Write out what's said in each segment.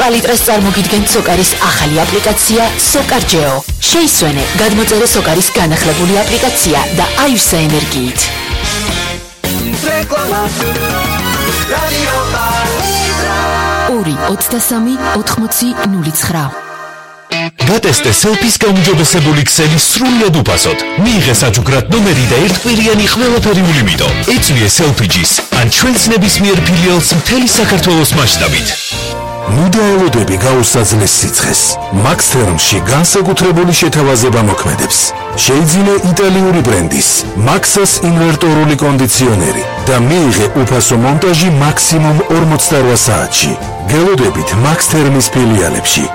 პალიტრას წარმოგიდგენთ სოკარის ახალი აპლიკაცია SOCAR-GEO. შეისვენე გადმოწერე სოკარის განახლებული აპლიკაცია და აივსე ენერგიით. ორი 23 80 09. გატესტე სელფის გაუმჯობესებული ქსელი სრულიად უფასოდ. მიიღე საჯუგრად ნომერი და ერთკვირიანი ყველაფერი ულიმიტო. ეწვიე სელფიჯის ან ჩვენს ნებისმიერ ფილიალს მთელი საქართველოს მასშტაბით. მუდაელოდები გაუსაძლეს სიცხეს. Max-Therm-ში განსაკუთრებული შეთავაზება მოქმედებს. შეიძინე იტალიური ბრენდის Maxxas ინვერტორული კონდიციონერი და მიიღე უფასო მონტაჟი მაქსიმუმ 48 საათში. გელოდებით Max-Therm-ის ფილიალებში.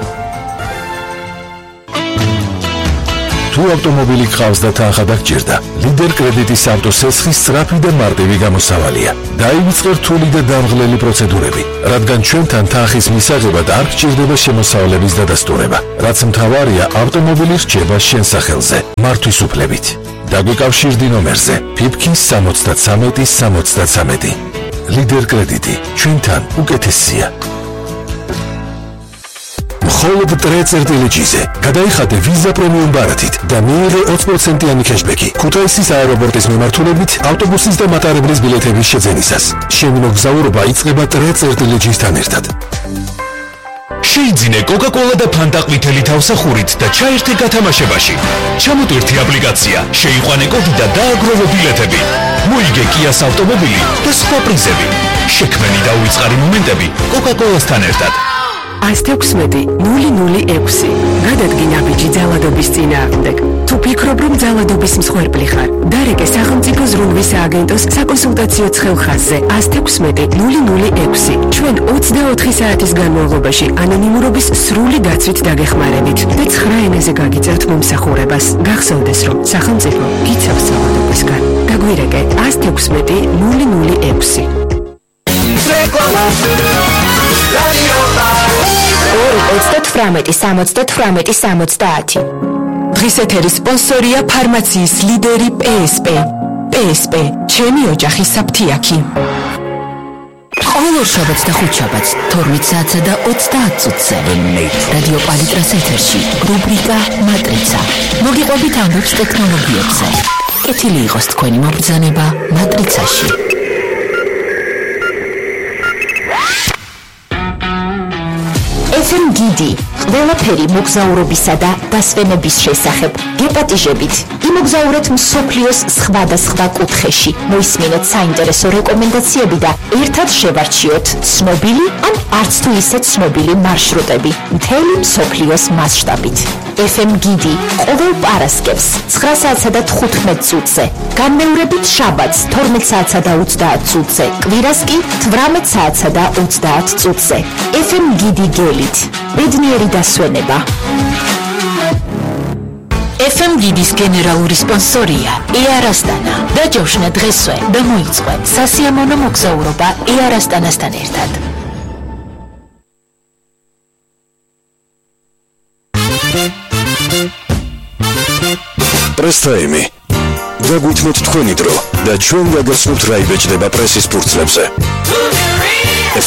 თუ ავტომობილი გყავს და თანხა დაგჭირდა, ლიდერ კრედიტის ავტოსესხის სწრაფი და მარტივი გამოსავალია. დაივიწყე რთული და დამღლელი პროცედურები, რადგან ჩვენთან თანხის მისაღებად არ გჭირდება შემოსავლების დადასტურება, რაც მთავარია ავტომობილი რჩება შენ სახელზე, მართვის უფლებით. დაგვიკავშირდი ნომერზე PIPK 73 ლიდერ კრედიტი, ჩვენთან უკეთესია. მხოლოდ ტრეწერტილეჯიზე გადაიხადე ვიზა პრემიუმ ბარათით და მიიღე 20%-იანი ქეშბექი ქუთაისის აეროპორტის მიმართულებით ავტობუსის და მატარებლის ბილეთების შეძენისას. შენი მოგზაურობა იწყება ტრეწერტილეჯისთან ერთად. შეიძინე Coca-Cola და Fanta ყვითელი თავსახურით და ჩაერთე გათამაშებაში. ჩამოტვირთი აპლიკაცია, შეიყვანე კოდი და დააგროვე ბილეთები. მოიგე Kia-ს ავტომობილი და სხვა პრიზები. შექმენი და უიწყარი მომენტები Coca-Cola-სთან ერთად. 116-006 გადადგინა ბიჭი ძალადობის წინააღმდეგ. თუ ფიქრობ, რომ ძალადობის მსხვერპლი ხარ, დარეკე სახელმწიფო ზრუნვის სააგენტოს საკონსულტაციო ცხელხაზზე 116-006. ჩვენ 24 საათის განმავლობაში ანონიმურობის სრული დაცვით დაგეხმარებით და 9 ენაზე გაგიწევთ მომსახურებას. გახსოვდეს, რომ სახელმწიფო გიცავს ძალადობისგან. გაგვირეკე 116-006. 2-38-70. დღის ეთერის სპონსორია ფარმაციის ლიდერი PSP. PSP, ჩემი ოჯახის საფთიაქი. ყოველ შაბათს და ხუთშაბათს 12 საათსა და 30 წუთზე რადიო პალიტრას ეთერში რუბრიკა მატრიცა. მოგიყვებით ამბებს ტექნოლოგიებზე. კეთილი იყოს თქვენი მობრძანება მატრიცაში. FM გიდი, ყველაფერი მოგზაურობისა და დასვენების შესახებ. გეპატიჟებით, იმოგზაურეთ მსოფლიოს სხვადასხვა კუთხეში. მოისმინეთ საინტერესო რეკომენდაციები და ერთად შევარჩიოთ ცნობილი ან არც თუ ისე ცნობილი მარშრუტები მთელი მსოფლიოს მასშტაბით. FM გიდი ყოველ პარასკევს 9 საათსა და 15 წუთზე. განმეორებით შაბათს 12 საათსა და 30 წუთზე. კვირას კი 18 საათსა და 30 წუთზე. FM გიდი გელით. ბედნიერი დასვენება. FM გიდის გენერალური სპონსორია Air Astana. დაჯავშნა დღესვე და მოიწყო სასიამოვნო მოგზაურობა Air Astana-სთან ერთად. Press time. Დაგვითმოთ თქვენი დრო და ჩვენ გაგაცნობთ რა იბეჭდება პრესის ფურცლებზე.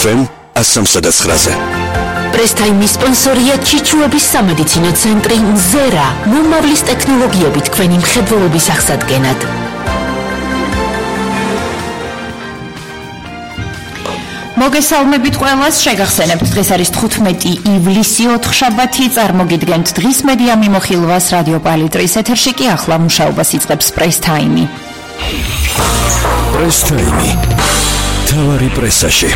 FM 103-ზე. პრესტაიმის სპონსორია ჩიჩუების სამედიცინო ცენტრი მზერა. მომავლის ტექნოლოგიებით თქვენი მხედველობის აღსადგენად. მოგესალმებით ყველას, შეგახსენებთ, დღეს არის 15 ივლისი, 4 შაბათი, წარმოგიდგენთ დღის მედია მიმოხილვას რადიო პალიტრის ეთერში კი ახლა მუშაობას იწყებს პრესტაიმი. პრესტაიმი. თავარი პრესაში.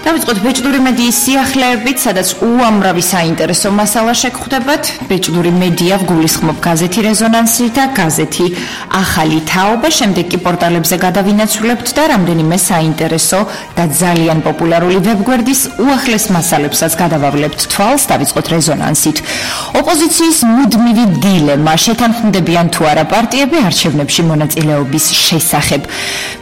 დავიწყოთ ბეჭდური მედიის სიახლეებით, სადაც უამრავი საინტერესო მასალა შეგხვდებათ. ბეჭდური მედია გულისხმობ გაზეთი რეზონანსი და გაზეთი ახალი თაობა, შემდეგ კი პორტალებზე გადავინაცვლებთ და რამდენიმე საინტერესო და ძალიან პოპულარული ვებგვერდის უახლეს მასალებსაც გადავავლებთ თვალს. დავიწყოთ რეზონანსით. ოპოზიციის მუდმივი დილემა, შეთანხმდებიან თუ არა პარტიები არჩევნებში მონაწილეობის შესახებ.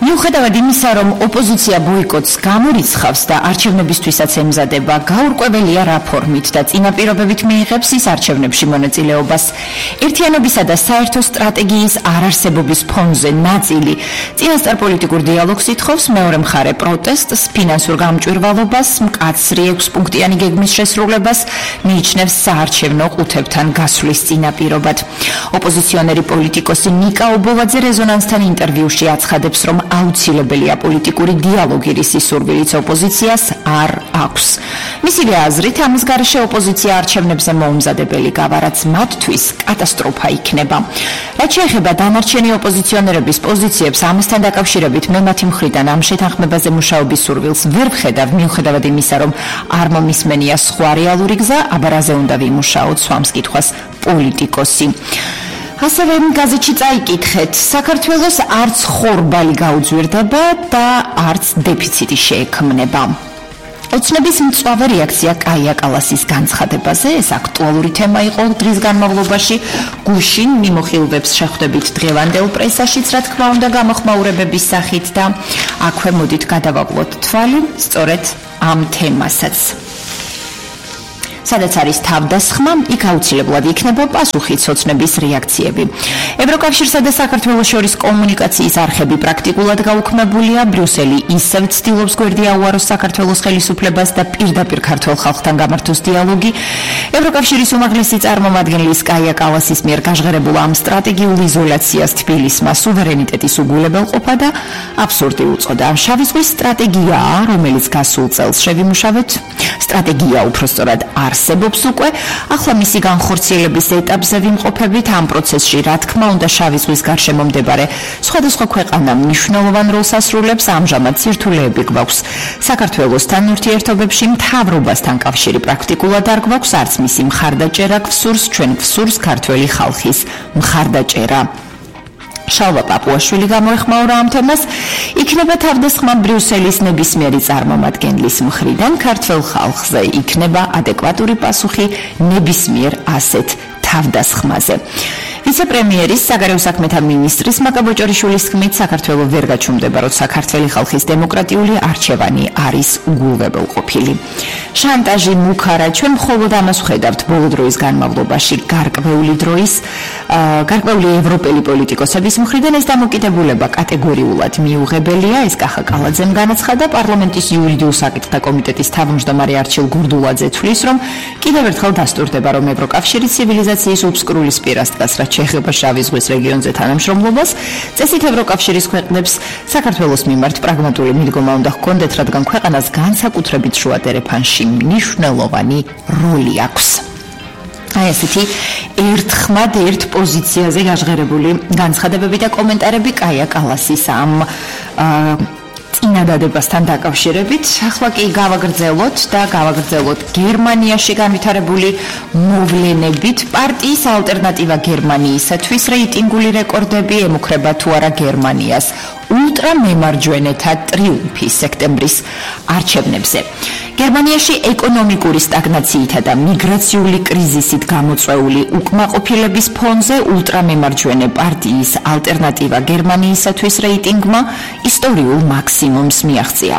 მიუხედავად იმისა, რომ ოპოზიცია ბოიკოტს გამორიცხავს და არჩევნებისთვისაც ემზადება, გაურკვეველია რა ფორმით და წინაპირობებით მიიღებს ის არჩევნებში მონაწილეობას. ერთიანობისა და საერთო სტრატეგიის არარსებობის ფონზე ნაწილი წინასწარ პოლიტიკურ დიალოგს ითხოვს, მეორე მხარე პროტესტს, ფინანსურ გამჭვირვალობას, მკაცრი 6-პუნქტიანი გეგმის შესრულებას, მიიჩნევს საარჩევნო ყუთებთან გასვლის წინაპირობად. ოპოზიციონერი პოლიტიკოსი ნიკა ობოლაძე რეზონანსთან ინტერვიუში აცხადებს, რომ აუცილებელია პოლიტიკური დიალოგი, რის სურვილიც ოპოზიციას არ აქვს. მისივე აზრით, ამის გარეშე ოპოზიცია არჩევნებზე მოუმზადებელი გავა, რაც მათთვის კატასტროფა იქნება. რაც შეეხება დანარჩენი ოპოზიციონერების პოზიციებს, ამასთან დაკავშირებით მე მათი მხრიდან ამ შეთანხმებაზე მუშაობის სურვილს ვერ ვხედავ, მიუხედავად იმისა, რომ არ მომისმენია სხვა რეალური გზა, აბა რაზე უნდა ვიმუშაოთ, swams კითხვას პოლიტიკოსი. ასევე გაზეთში წაიკითხეთ, საქართველოს არც ხორბალი გაუძვირდება და არც დეფიციტი შეექმნება. ოცნების მწვავე რეაქცია კაია კალასის განცხადებაზე, ეს აქტუალური თემა იყო დღის განმავლობაში. გუშინ მიმოხილვებს შეხვდებით დღევანდელ პრესაშიც, რა თქმა უნდა, გამოხმაურებების სახით და აქვე მოდით გადავაკლოთ თვალი სწორედ ამ თემასაც. სადაც არის თავდასხმა, იქ აუცილებლად იქნება პასუხი ოცნების რეაქციები. ევროკავშირსა და საქართველოს შორის კომუნიკაციის არხები პრაქტიკულად გაუქმებულია. ბრიუსელი ისევ ცდილობს გვერდი აუაროს საქართველოს ხელისუფლებას და პირდაპირ ქართველ ხალხთან გამართოს დიალოგი. ევროკავშირის უმაღლესი წარმომადგენლის კაია კალასის მიერ გაჟღერებულ ამ სტრატეგიულ იზოლაციას თბილისმა სუვერენიტეტის უგულებელყოფა და აბსურდი უწოდა. შავი ზღვის სტრატეგიაა, რომელიც გასულ წელს შევიმუშავეთ. სტრატეგია უпростоრად არსებობს უკვე, ახლა მისი განხორციელების ეტაპზე ვიმყოფებით. ამ პროცესში, რა თქმა უნდა, შავი ზღვის გარშემო მდებარე სხვადასხვა ქვეყანა მნიშვნელოვან როლს ასრულებს. ამჟამად სირთულეები გვაქვს საქართველოსთან ურთიერთობებში, მთავრობასთან კავშირი პრაქტიკულად არ გვაქვს, არც მისი მხარდაჭერა გვსურს, ჩვენ გვსურს ქართველი ხალხის მხარდაჭერა. შალვა პაპუაშვილი გამოეხმაურა ამ თემას. იქნება თავდასხმა ბრიუსელის ნებისმიერი წარმომადგენლის მხრიდან ქართველ ხალხზე, იქნება ადეკვატური პასუხი ნებისმიერ ასეთ თავდასხმაზე. ვიცე-პრემიერის საგარეო საქმეთა მინისტრის მაკა ბოჭორიშვილის თქმით, საქართველო ვერ გაჩუმდება, როცა ქართველი ხალხის დემოკრატიული არჩევანი არის უგულებელყოფილი. შანტაჟი მუქარა, ჩვენ მხოლოდ ამას ვხედავთ ბოლო დროის განმავლობაში გარკვეული ევროპელი პოლიტიკოსების მხრიდან. ეს დამოკიდებულება კატეგორიულად მიუღებელია, ეს კახა კალაძემ განაცხადა. პარლამენტის იურიდიულ საკითხთა კომიტეტის თავმჯდომარე არჩილ გურდულაძე თვლის, რომ კიდევ ერთხელ დასტურდება, რომ ევროკავშირი ცივილიზაციის უბსკრულის პირას დგას, რაც შეეხება შავი ზღვის რეგიონზე თანამშრომლობას. წესით ევროკავშირის ქვეყნებს საქართველოს მიმართ პრაგმატული მიდგომა უნდა ჰქონდეთ, რადგან ქვეყანას განსაკუთრებით შუა დერეფანში მნიშვნელოვანი როლი აქვს. აი ესეთი ერთხმად ერთ პოზიციაზე გაჟღერებული განცხადებები და კომენტარები კაია კალასის ამ წინადადებასთან დაკავშირებით. ახლა კი გავაგრძელოთ გერმანიაში განვითარებული მოვლენებით. პარტიის ალტერნატივა გერმანიისათვის რეიტინგული რეკორდები ემუქრება თუ არა გერმანიას. ულტრამემარჯვენეთა ტრიუმფი სექტემბრის არჩევნებზე. გერმანიაში ეკონომიკური სტაგნაციითა და მიგრაციული კრიზისით გამოწვეული უკმაყოფილების ფონზე ულტრამემარჯვენე პარტიის ალტერნატივა გერმანიისათვის რეიტინგმა ისტორიულ მაქსიმუმს მიაღწია.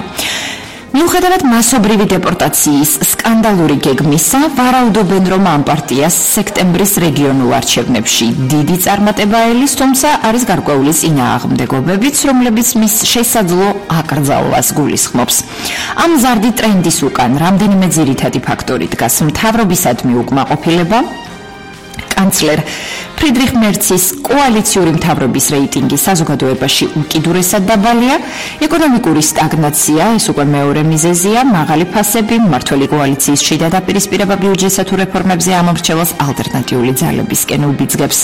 მიუხედავად მასობრივი დეპორტაციის სკანდალური გეგმისა, ვარაუდობენ, რომ ამ პარტიას სექტემბრის რეგიონულ არჩევნებში დიდი წარმატება ელის, თუმცა არის გარკვეული წინააღმდეგობებიც, რომლებიც მის შესაძლო აკრძალვას გულისხმობს. ამ მზარდი ტრენდის უკან რამდენიმე ძირითადი ფაქტორი დგას: მთავრობისადმი უკმაყოფილება, კანცლერ ფრიდრიხ მერცის კოალიციური მთავრობის რეიტინგი საზოგადოებაში უკიდურესად დაბალია, ეკონომიკური სტაგნაცია, ეს უკვე მეორე მიზეზია, მაღალი ფასები, მმართველი კოალიციის შიდა დაპირისპირება ბიუჯეტსა თუ რეფორმებზე ამორჩევას ალტერნატიული ძალებისკენ უბიძგებს.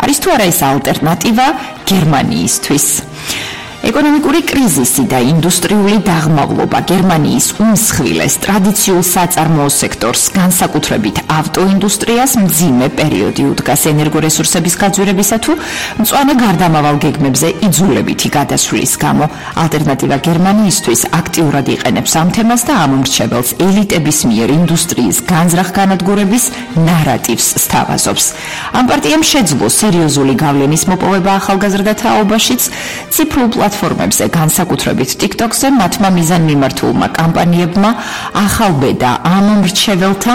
არის თუ არა ეს ალტერნატივა გერმანიისთვის? ეკონომიკური კრიზისი და ინდუსტრიული დაღმავლობა გერმანიის უმსხვილეს ტრადიციულ საწარმოო სექტორს, განსაკუთრებით ავტოინდუსტრიას, მძიმე პერიოდი უდგას ენერგორესურსების გაძვირებისა თუ მწვანე გარდამავალ გეგმებზე იძულებითი გადასვლის გამო. ალტერნატივა გერმანიისთვის აქტიურად იყენებს ამ თემას და ამომრჩეველს ელიტების მიერ ინდუსტრიის განზრახ განადგურების ნარატივს სთავაზობს. ამ პარტიამ შეძლო სერიოზული გავლენის მოპოვება ახალგაზრდა თაობაშიც, ციფრულ პლატფორმებზე, განსაკუთრებით TikTok-ზე, მათმა მიზანმიმართულმა კამპანიებმა ახალბედა ამ მრჩეველთა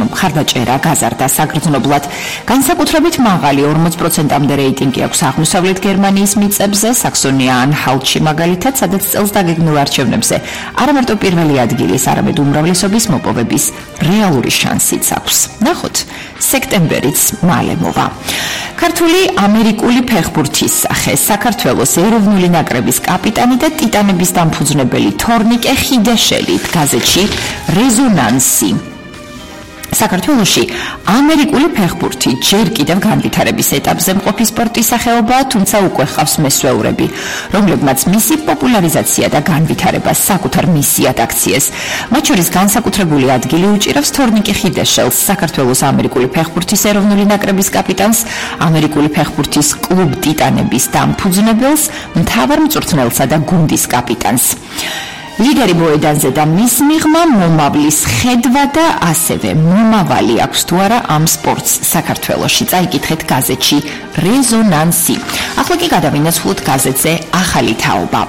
მხარდაჭერა გაზარდა საგრძნობლად. განსაკუთრებით მაღალი 40%-მდე რეიტინგი აქვს აღმოსავლეთ გერმანიის მიწებზე, საქსონია-ანჰალტში მაგალითად, სადაც წელს დაგეგმილ არჩევნებზე არამარტო პირველი ადგილის, არამედ უმრავლესობის მოპოვების რეალური შანსიც აქვს. ნახოთ, სექტემბერიც მალე მოვა. ქართული ამერიკული ფეხბურთის სახე, საქართველოს ეროვნული ნაკრების კაპიტანი და ტიტანების დამფუძნებელი თორნიკე ხიდაშელი გაზეთში რეზონანსი. საქართველოში ამერიკული ფეხბურთი ჯერ კიდევ განვითარების ეტაპზე მყოფი სპორტის სახეობაა, თუმცა უკვე ჰყავს მესვეურები, რომლებმაც მისი პოპულარიზაცია და განვითარება საკუთარ მისიად აქციეს. მათ შორის განსაკუთრებული ადგილი უჭირავს თორნიკე ხიდაშელს, საქართველოს ამერიკული ფეხბურთის ეროვნული ნაკრების კაპიტანს, ამერიკული ფეხბურთის კლუბ ტიტანების დამფუძნებელს, მთავარ მწვრთნელსა და გუნდის კაპიტანს. ლიდერი მოედანზე და მის მიღმა მომავლის ხედვა და ასევე მომავალი აქვს თუ არა ამ სპორტს საქართველოში. წაიკითხეთ გაზეთში რეზონანსი. ახლა კი გადავინაცვლოთ გაზეთზე ახალი თაობა.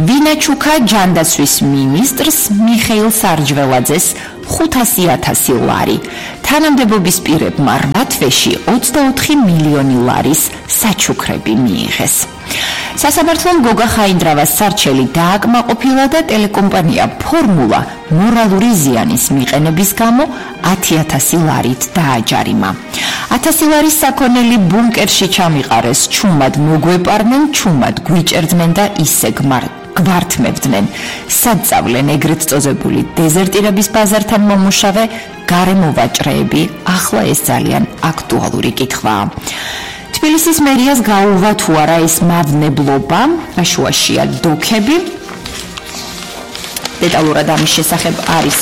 ვინაჩუკა ჯანდაცვის მინისტრს მიხეილ სარჯველაძეს 500,000 ლარი. თანამდებობის პირებმა 8 თვეში 24 მილიონი ლარის საჩუქრები მიიღეს. სასამართლომ გოგა ხაინდრავას სარჩელი დააკმაყოფილა და ტელეკომპანია ფორმულა მორალური ზიანის მიყენების გამო 10,000 ლარით დააჯარიმა. 1000 ლარის საქონელი ბუნკერში ჩამიყარეს, ჩუმად მოგვეპარნენ, ჩუმად გვიჭერდნენ და ისე გვართმევდნენ. სადწავლენ ეგრეთ წოდებული დეზერტირების ბაზართან მომუშავე გარემოვაჭრეები, ახლა ეს ძალიან აქტუალური კითხვაა. თბილისის მერიას გაუვა თუ არა ეს მავნებლობა, შუაშია დოქები. დეტალურად ამის შესახებ არის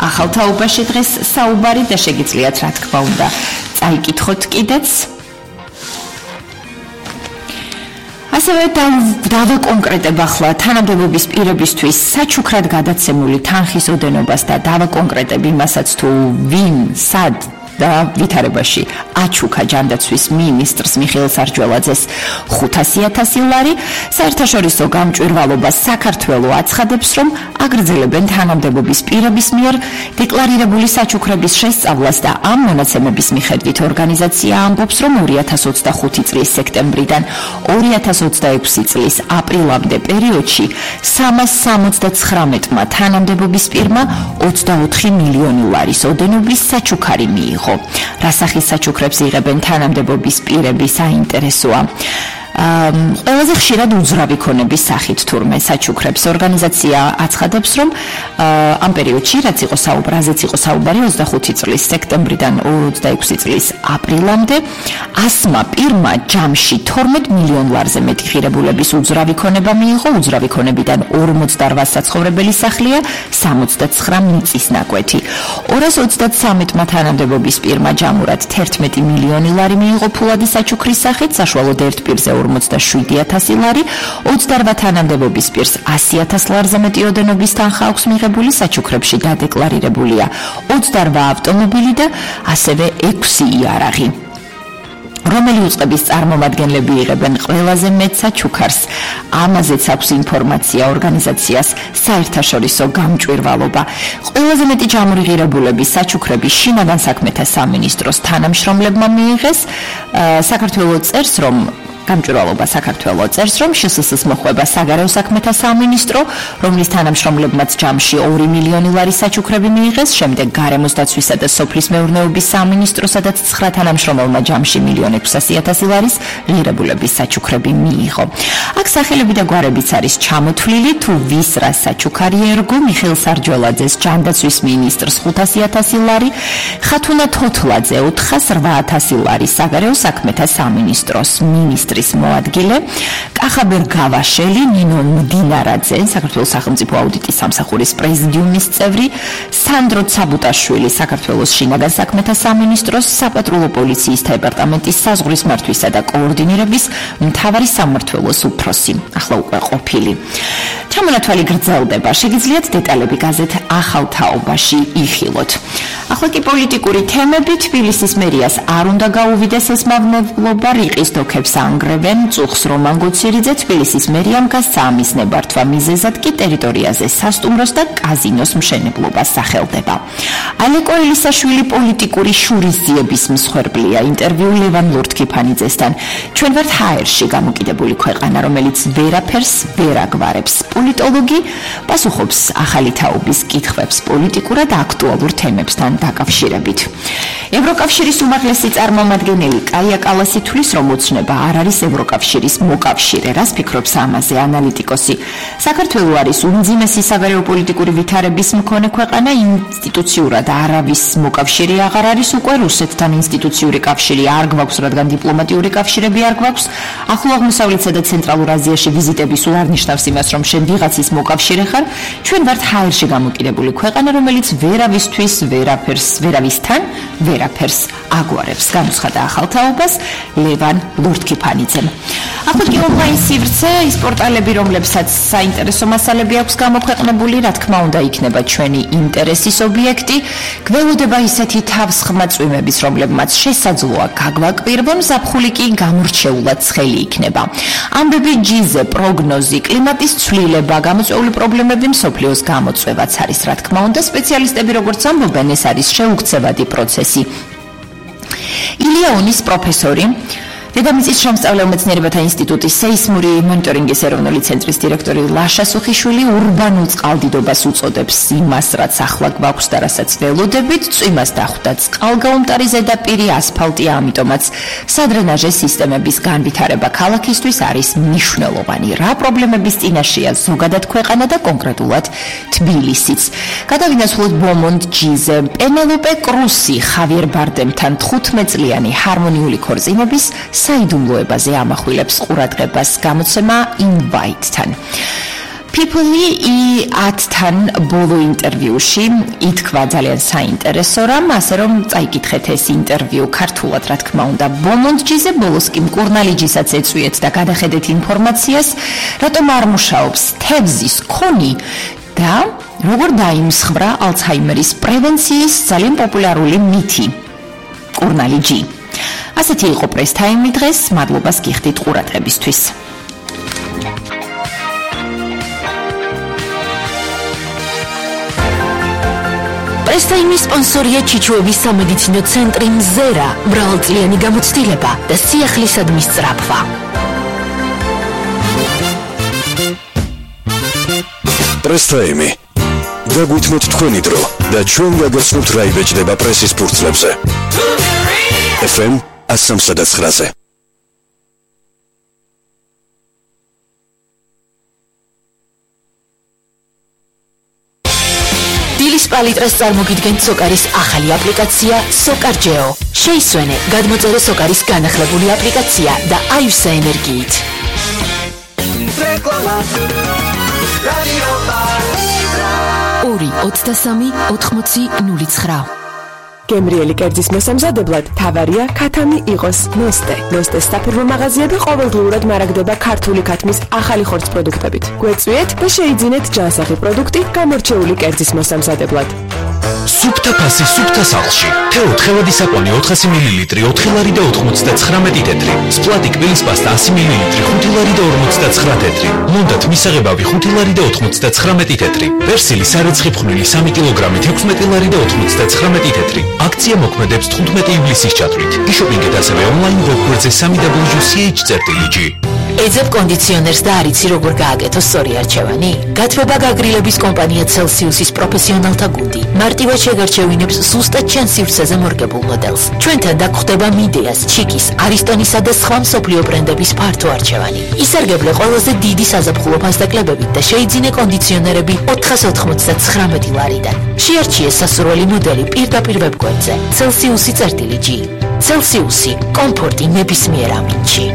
ახალ თაობაში დღეს საუბარი და შეგიძლიათ რა თქმა უნდა წაიკითხოთ კიდეც. ასევე დავაკონკრეტებ ახლა თანამდებობის პირებისთვის საჩუქრად გადაცემული თანხის ოდენობას და დავაკონკრეტებ იმასაც თუ ვინ, სად და ვითარებაში აჩუქა ჯანდაცვის მინისტრს მიხეილ სარჯველაძეს 500,000 ლარი. საერთაშორისო გამჭვირვალობა საქართველოს აცხადებს, რომ აგრძელებენ თანამდებობის პირების მიერ დეკლარირებული საჩუქრების შესწავლას და ამ მონაცემების მიხედვით ორგანიზაცია ამბობს, რომ 2025 წლის სექტემბრიდან 2026 წლის აპრილამდე პერიოდში 379-მა თანამდებობის პირმა 24 მილიონი ლარის ოდენობის საჩუქარი მიიღო. რა სახის საჩუქრებს იღებენ თანამდებობის პირები საინტერესოა. ყველაზე ხშირად უძრავი ქონების სახით თურმე საჩუქრებს. ორგანიზაცია აცხადებს, რომ ამ პერიოდში, რაც იყო საუბარი 25 წლის სექტემბრიდან 26 წლის აპრილამდე, 100-მა პირმა ჯამში 12 მილიონ ლარზე მეტი ღირებულების უძრავი ქონება მიიღო. უძრავი ქონებიდან 48 საცხოვრებელი სახლია, 69 მიწის ნაკვეთი. 233-მა თანამდებობის პირმა ჯამურად 11 მილიონი ლარი მიიღო ფულადი საჩუქრის სახით, საშუალოდ ერთ პირზე 47,000 ლარი, 28 თანამდებობის პირს 100,000 ლარზე მეტი ოდენობის თანხა აქვს მიღებული, საჩუქრებში დადეკლარირებულია 28 ავტომობილი და ასევე 6 იარაღი. რომელი უწყების წარმომადგენლები იღებენ ყველაზე მეტ საჩუქარს, ამაზეც აქვს ინფორმაცია ორგანიზაციას საერთაშორისო გამჭვირვალობა. ყველაზე მეტი ჯამური ღირებულების საჩუქრები შინაგან საქმეთა სამინისტროს თანამშრომლებმა მიიღეს. საქართველოს წერს, რომ გამჭვირვალობა საქართველოს წერს, რომ შსს მოხვება საგარეო საქმეთა სამინისტრო, რომლის თანამშრომლებმაც ჯამში 2 მილიონი ლარის საჩუქრები მიიღეს, შემდეგ გარემოს დაცვისა და სოფლის მეურნეობის სამინისტრო, სადაც 9 თანამშრომელმა ჯამში 1,600,000 ლარის ღირებულების საჩუქრები მიიღო. აქ სახელები და გვარებიც არის ჩამოთვლილი, თუ ვის რა საჩუქარი ერგო, მიხეილ სარჯველაძეს ჯანდაცვის მინისტრს 500,000 ლარი, ხათუნა თოთლაძე 408,000 ლარი საგარეო საქმეთა სამინისტროს მინისტრი მოადგილე, კახაბერ გავაშელი, ნინო მდინარაძე, საქართველოს სახელმწიფო აუდიტის სამსახურის პრეზიდიუმის წევრი, სანდრო ცაბუტაშვილი, საქართველოს შინაგან საქმეთა სამინისტროს საპატრულო პოლიციის დეპარტამენტის საზღვრის მართვისა და კოორდინირების მთავარი სამმართველოს უფროსი, ახლა უკვე ყოფილი. ჩამონათვალი გრძელდება, შეგიძლიათ დეტალები გაზეთ ახალ თაობაში იხილოთ. ახლა კი პოლიტიკური თემები. თბილისის მერიას არ უნდა გაუვიდეს ეს მავნებლობა, რიყის დოქებს ანგრევს აკურებენ წუხს რომან გუციერიძე თბილისის მერიამ გასცა ამის ნებართვა მიზეზად კი ტერიტორიაზე სასტუმროს და კაზინოს მშენებლობას სახელდება. ალეკო ელისაშვილი პოლიტიკური შურისძიების მსხვერპლია. ინტერვიუ ლევან ლურთქიფანიძესთან. ჩვენ ვართ ჰაერში გამოკიდებული ქვეყანა, რომელიც ვერაფერს ვერ აგვარებს. პოლიტოლოგი პასუხობს ახალი თაობის კითხვებს პოლიტიკურად აქტუალურ თემებთან დაკავშირებით. ევროკავშირის უმაღლესი წარმომადგენელი კაია კალასი თვლის, რომ უცნება არ არის ევროკავშირის მოკავშირე. რას ფიქრობს ამაზე ანალიტიკოსი? საქართველო არის უმძიმესი საგარეო პოლიტიკური ვითარების მქონე ქვეყანა, ინსტიტუციურად არავის მოკავშირე აღარ არის უკვე, რუსეთთან ინსტიტუციური კავშირი არ გვაქვს, რადგან დიპლომატიური კავშირები არ გვაქვს. ახლო აღმოსავლეთსა და ცენტრალურ აზიაში ვიზიტები სულ არ ნიშნავს იმას, რომ შენ ვიღაცის მოკავშირე ხარ. ჩვენ ვართ ჰაერში გამოკიდებული ქვეყანა, რომელიც ვერავისთვის ვერავისთან ვერაფერს აგვარებს. განუცხადა ახალ თაობას ლევან ლურთქიფანიძემ. ახლა კი ონლაინ სივრცე, ის პორტალები, რომლებსაც საინტერესო მასალები აქვს გამოქვეყნებული, რა თქმა უნდა, იქნება ჩვენი ინტერესის ობიექტი. გველოდება ისეთი თავსხმა წვიმების, რომლებმაც შესაძლოა გაგვაკვირვონ, ზაფხული კი გამორჩეულად ცხელი იქნება. ამბები, ჯიზე, პროგნოზი, კლიმატის ცვლილება, გამოწვეული პრობლემები, მსოფლიოს გამოწვევაც არის, რა თქმა უნდა, სპეციალისტები როგორც ამბობენ, ეს არის შეუქცევადი პროცესი. ილია-ონის პროფესორი, დედამიწის შემსწავლელ მეცნიერებათა ინსტიტუტის სეისმური მონიტორინგის ეროვნული ცენტრის დირექტორი ლაშა სუხიშვილი ურბანულ წყალდიდობას უწოდებს იმას, რაც ახლა გვაქვს და რასაც ველოდებით. წვიმას დახვდა წყალგაუმტარი ზედაპირი, ასფალტი, ამიტომაც სადრენაჟე სისტემების განვითარება ქალაქისთვის არის მნიშვნელოვანი. რა პრობლემების წინაშეა ზოგადად ქვეყანა და კონკრეტულად თბილისიც? გადავინაცვლოთ ბომონდ ჯიზე, პენელოპე კრუსი ხავიერ ბარდემთან 15 წლიანი ჰარმონიული ქორწინების საიდუმლოებაზე ამახვილებს ყურადღებას გამოცემა Invite-თან. People-ი 10-თან ბოლო ინტერვიუში ითქვა ძალიან საინტერესო რამ, ასე რომ წაიკითხეთ ეს ინტერვიუ ქართულად, რა თქმა უნდა. ბომონდ ჯიზე ბოლოს კი მკურნალიჯისაც ეწვიეთ და გადახედეთ ინფორმაციას, რატომ არ მუშაობს თევზის ქონი და როგორ დაიმსხვრა ალცჰაიმერის პრევენციის ძალიან პოპულარული მითი მკურნალიჯი. ასეთი იყო პრეს-თაიმი დღეს, მადლობას გიხდით ყურადღებისთვის. პრეს-თაიმის სპონსორია ჩიჩუების სამედიცინო ცენტრი მზერა, მრავალწლიანი გამოცდილება და სიახლისადმი სწრაფვა. პრეს-თაიმი. დაგვითმოთ თქვენი დრო და ჩვენ გაგაცნობთ რა იბეჭდება პრესის ფურცლებზე. FM 103-ზე. დილის პალიტრას წარმოგიდგენთ სოკარის ახალი აპლიკაცია სოკარჯეო. შეისვენე, გადმოწერე სოკარის განახლებული აპლიკაცია და აივსე ენერგიით. რეკლამა. რადიო პალიტრა. 2-23-80-09. გემრიელი კერძის მოსამზადებლად თავარია ქათამი იყოს ნოსტე. ნოსტეს საფირმო მაღაზია და ყოველდღიურად მარაგდება ქართული ქათმის ახალი ხორცს პროდუქტებით. გვეწვიეთ და შეიძინეთ ჯანსაღი პროდუქტი გამორჩეული კერძის მოსამზადებლად. სუფთა ფასი სუფთა სახლში. თეო თხევადი საკვანი 400 მლ, 4 ლარი და 99 თეთრი. სპლატი კბილის პასტა 100 მლ, 5 ლარი და 59 თეთრი. მონდათ მისაღებავი 5 ლარი და 99 თეთრი. პერსილი სარეცხი ფხვნილი 3 კილოგრამით 16 ლარი და 99 თეთრი. აქცია მოქმედებს 15 ივლისის ჩათვლით. იშოპინგეთ ასევე ონლაინ ვებგვერდზე www.ch.gr. ეძებ კონდიციონერს და არიცი როგორ გააკეთო სწორი არჩევანი? გათბობა გაგრილების კომპანია Celsius-ის პროფესიონალთა გუნდი. მარტივად შეგარჩევინებს ზუსტად ჩემს სივრცეზე მორგებულ მოდელს. ჩვენთან დაგხვდება მიდეას, ჩიკის, არისტონისა და სხვა მსოფლიო ბრენდების ფართო არჩევანი. ისარგებლე ყველაზე დიდი საზაფხულო ფასდაკლებებით და შეიძინე კონდიციონერები 499 ლარიდან. შეარჩიე სასურველი მოდელი პირდაპირ ვებგვერდზე. Celsius-G. Celsius-ი კომფორტი ნებისმიერ ამინდში.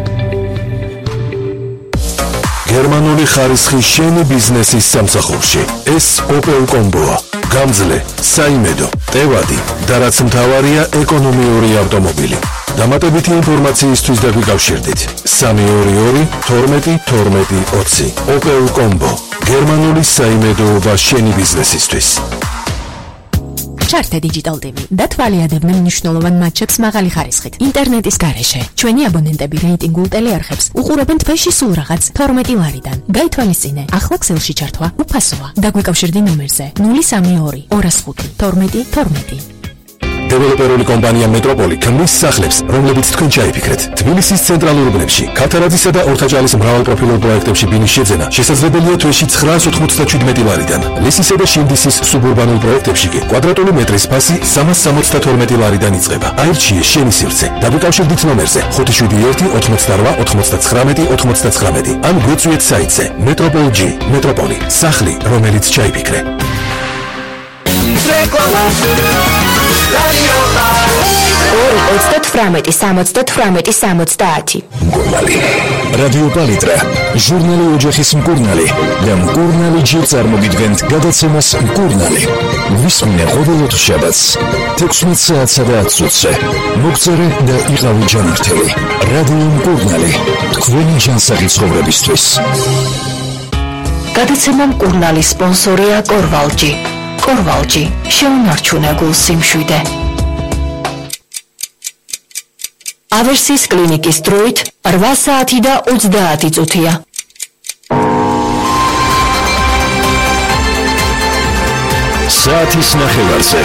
გერმანული ხარისხი შენი ბიზნესის სამსახურში. ეს Opel Combo-ა. გამძლე, საიმედო, ტევადი და რაც მთავარია ეკონომიური ავტომობილი. დამატებითი ინფორმაციისთვის დაგვიკავშირდით 322 12 12 20. Opel Combo. გერმანული საიმედოობა შენი ბიზნესისთვის. ჩართე Digital TV და თვალიადებდნენ მნიშვნელოვან მატჩებს მაღალი ხარისხით. ინტერნეტის გარეშე ჩვენი აბონენტები რეიტინგულ ტელეარხებს უყურებენ თვეში სულ რაღაც 12 ლარიდან. გაითვალისწინე, ახლა ქსელში ჩართვა უფასოა. დაგვიკავშირდი ნომერზე 032 205 12 12. დეველოპერული კომპანია მეტროპოლი ქმნის სახლებს, რომლებიც თქვენ ჩაიფიქრეთ. თბილისის ცენტრალურ უბნებში, ქათარაძისა და ორთაჭალის მრავალპროფილურ პროექტებში ბინის შეძენა შესაძლებელია თვეში 997 ლარიდან. ლისისა და შინდისის სუბურბანულ პროექტებში კი კვადრატული მეტრის ფასი 372 ლარიდან იწყება. აირჩიე შენი სივრცე. დაგვიკავშირდით ნომერზე 571 88 99 99 ან გვეწვიეთ საიტზე Metropol-G. მეტროპოლი, სახლი, რომელიც ჩაიფიქრე. ორი 38 მკურნალი. რადიო პალიტრა, ჟურნალი ოჯახის მკურნალი და მკურნალი ჯერ წარმოგიდგენთ გადაცემას მკურნალი. ვისმინე ყოველ შაბათს 16 საათსა და 10 წუთზე. მოგწერე და იყავი ჯანმრთელი. რადიო მკურნალი, თქვენი ჯანსაღი ცხოვრებისთვის. გადაცემა მკურნალის სპონსორია კორვალჯი. კორვალჯი, შეუნარჩუნე გულს სიმშვიდე. ავერსის კლინიკის დროით 8 საათი და 30 წუთია. საათის ნახევარზე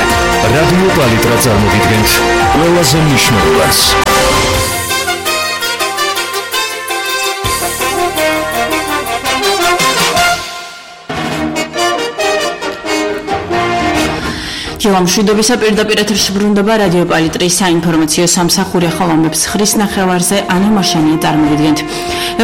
რადიო პალიტრა წარმოგიდგენთ ყველაზე მნიშვნელოვანს. მშვიდობისა პირდაპირ ეთერში ბრუნდება რადიო პალიტრის საინფორმაციო სამსახური ახალამებს ხრის ნახევარზე ანა მაშანია წარმოგიდგენთ.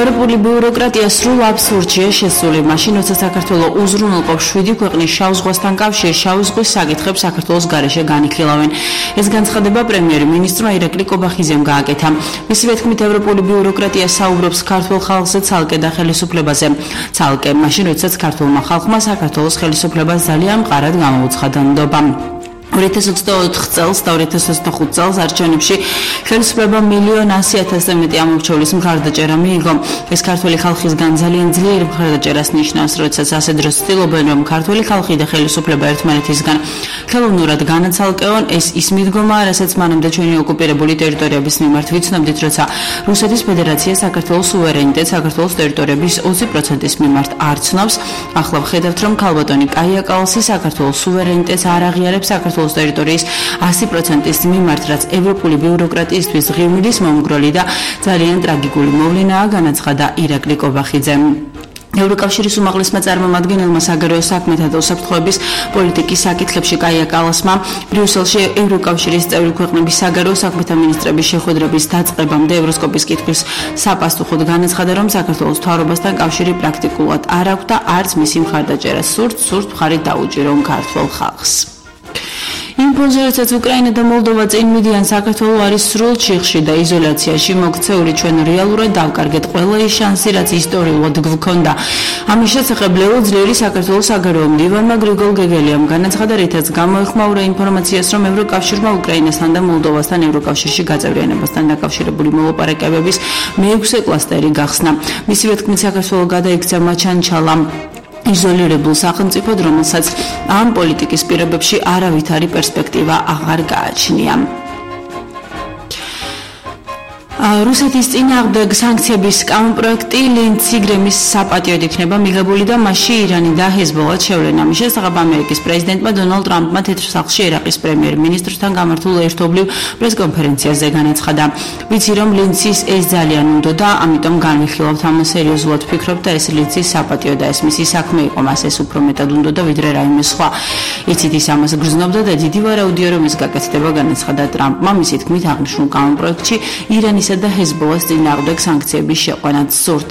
ევროპული ბიუროკრატია სრულ აბსურდშია შესული მაშინ, როცა საქართველო უზრუნველყოფს 7 ქვეყნის შავ ზღვასთან კავშირ შავი ზღვის საკითხებს საქართველოს გარეშე განიხილავენ. ეს განცხადება პრემიერ-მინისტრმა ირაკლი კობახიძემ გააკეთა. მისივე თქმით, ევროპული ბიუროკრატია საუბრობს ქართულ ხალხზე ცალკე და ხელისუფლებაზე. ცალკე მაშინ, როდესაც ქართულმა ხალხმა საქართველოს ხელისუფლებას ძალიან მყარად გამოუცხადა ნდობა. 2024 წელს და 2025 წელს არჩევნებში ხელისუფლებამ 1,100,000-ზე მეტი ამორჩევლის მხარდაჭერა მიიღო. ეს ქართული ხალხისგან ძალიან ძლიერი მხარდაჭერას ნიშნავს, როდესაც ასე დროს ცდილობენ, რომ ქართული ხალხი და ხელისუფლება ერთმანეთისგან ხელოვნურად განაცალკეონ. ეს ის მიდგომაა, რასაც მანამდე ჩვენი ოკუპირებული ტერიტორიების მიმართ ვიცნობდით, როცა რუსეთის ფედერაცია საქართველოს სუვერენიტეტს საქართველოს ტერიტორიების 20%-ის მიმართ არ ცნობს. ახლა ვხედავთ, რომ ქალბატონი კაია კალსი საქართველოს სუვერენიტეტს არ აღიარებს საქართველოს ტერიტორიის 100%-ის მიმართ, რაც ევროპული ბიუროკრატიისთვის ღირმილის მომგროლი და ძალიან ტრაგიკული მოვლენაა, განაცხადა ირაკლი კობახიძემ. ევროკავშირის უმაღლესმა წარმომადგენელმა საგარეო საქმეთა და უსაფრთხოების პოლიტიკის საკითხებში კაია კალასმა ბრიუსელში ევროკავშირის წევრი ქვეყნების საგარეო საქმეთა მინისტრების შეხვედრების დაწყებამდე ევროსკოპის კითხვის საპასუხოდ განაცხადა, რომ საქართველოს მთავრობასთან კავშირი პრაქტიკულად არ აქვს და არც მისი მხარდაჭერა სურთ მხარი დაუჭირო ქართველ ხალხს. იმპულსი, როდესაც უკრაინა და მოლდოვა წინ მიდიან, საქართველო არის სრულ ჩიხში და იზოლაციაში მოქცეული. ჩვენ რეალურად დავკარგეთ ყველა ის შანსი, რაც ისტორიულად გვქონდა. ამის შესახებ ლეო ძლიერი საქართველოს საგარეო მდივანმა გრიგოლ გეგელიამ განაცხადა, რითაც გამოეხმაურა ინფორმაციას, რომ ევროკავშირმა უკრაინასთან და მოლდოვასთან ევროკავშირში გაწევრიანებასთან დაკავშირებული მოლაპარაკებების მე-6 კლასტერი გახსნა. მისივე თქმით, საქართველო გადაიქცა მაჩანჩალა იზოლირებულ სახელმწიფოდ, რომელსაც ამ პოლიტიკის პირობებში არავითარი პერსპექტივა აღარ გააჩნია. რუსეთის წინააღმდეგ სანქციების კანონპროექტი ლინციგრემის საპატიოდ იქნება მიღებული და მასში ირანი და ჰეზბოლა შევლენ. ამის შესახებ ამერიკის პრეზიდენტმა დონალდ ტრამპმა თეთრ სახლში ერაყის პრემიერ-მინისტრთან გამართულ ერთობლივ პრესკონფერენციაზე განაცხადა. ვიცი, რომ ლინცის ეს ძალიან უნდოდა, ამიტომ განვიხილავთ ამას სერიოზულად ვფიქრობ და ეს ლინცის საპატიო და ეს მისი საქმე იყო, მას ეს უფრო მეტად უნდოდა ვიდრე რაიმე სხვა. იცით, ის ამას გრძნობდა და დიდი ვარაუდია, რომ ეს გაკეთდება, განაცხადა ტრამპმა. მისი თქმით, აღნიშნულ კანონპროექტში ირანის და ჰეზბოლას წინააღმდეგ სანქციების შეყვანაც სურთ.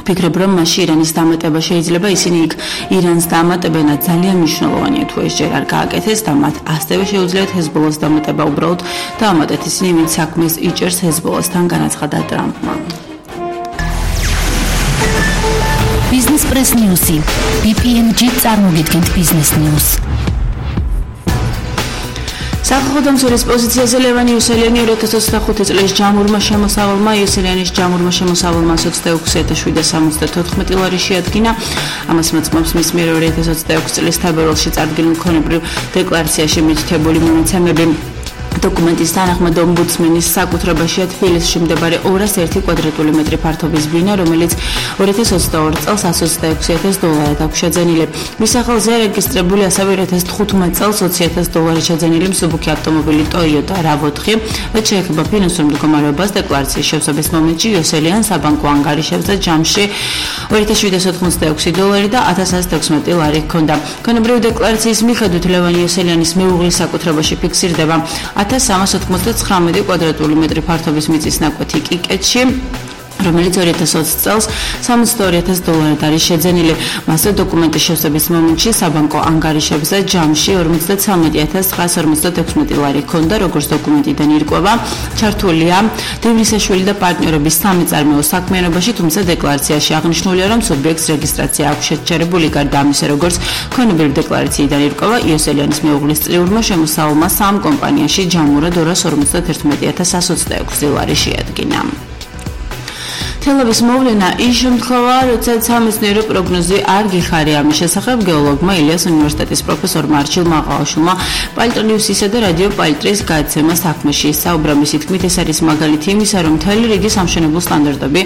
ფიქრობ, რომ მასში ირანის დამატება შეიძლება, ისინი იქ ირანს დამატებენ და ძალიან მნიშვნელოვანია თუ ეს ჯერ არ გააკეთეს და მათ ასევე შეუძლიათ ჰეზბოლას დამატება უბრალოდ დაამატეთ ისინი, ვინც საქმეს იჭერს ჰეზბოლასთან, განაცხადა ტრამპმა. Business Press News-ი. BPMG წარმოგიდგენთ Business News. სახელმწიფოს პოზიციაზე ლევან იოსელიანი 2025 წლის ჯამურმა შემოსავალმა იოსელიანის ჯამურმა შემოსავალმა 26774 ლარი შეადგინა. ამას მოწმობს მის მიერ 2026 წლის თებერვალში წარდგენილ მქონებრივ დეკლარაციაში მითითებული მონაცემები. დოკუმენტის თანახმად ომბუდსმენის საკუთრებაშია თბილისში მდებარე 201 კვადრატული მეტრი ფართობის ბინა, რომელიც 2022 წელს $126,000 აქვს შეძენილი. მის სახელზე რეგისტრირებული ასევე 2015 წელს $20,000 შეძენილი მსუბუქი ავტომობილი Toyota RAV4, რაც შეეხება ფინანსურ მდგომარეობას. დეკლარაციის შევსების მომენტში იოსელიან საბანკო ანგარიშებზე ჯამში $2,786 და $1,116 ლარი ჰქონდა. ქონებრივი დეკლარაციის მიხედვით ლევან იოსელიანის მეუღლის საკუთრებაში ფიქსირდება 1399 კვადრატული მეტრი ფართობის მიწის ნაკვეთი კიკეთში, რომელიც 2020 წელს $62,000 არის შეძენილი. მასზე დოკუმენტის შევსების მომენტში საბანკო ანგარიშებზე ჯამში 53,956 ლარი ჰქონდა, როგორც დოკუმენტიდან ირკვევა. ჩართულია დევნისაშვილი და პარტნიორების სამი წარმოო საქმიანობაში, თუმცა დეკლარაციაში აღნიშნულია, რომ სუბიექტს რეგისტრაცია აქვს შეჩერებული. გარდა ამისა, როგორც ქონებრივი დეკლარაციიდან ირკვევა, იოსელიანის მეუღლის წლიურმა შემოსავალმა სამ კომპანიაში ჯამურად $251,126 ლარი შეადგინა. თელავის მოვლენა ის შემთხვევაა, როდესაც სამეცნიერო პროგნოზი არ გიხარია. ამის შესახებ გეოლოგმა ილიას უნივერსიტეტის პროფესორმა არჩილ მაღალაშვილმა პალტრონიუსისა და რადიო პალტრის გადაცემა საქმეში ისაუბრა. მისი თქმით, ეს არის მაგალითი იმისა, რომ მთელი რიგი სამშენებლო სტანდარტები,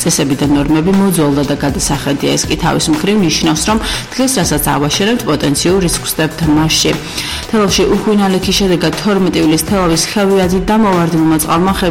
წესები და ნორმები მოძველდა და გადასახედია. ეს კი თავის მხრივ ნიშნავს, რომ დღეს რასაც ავაშერებთ, პოტენციურ რისკს ვსდებთ მასში. თელავში უხვი ნალექის შედეგად 12 ივლის თელავის ხევიათი და მოვარდნილმა წყალმა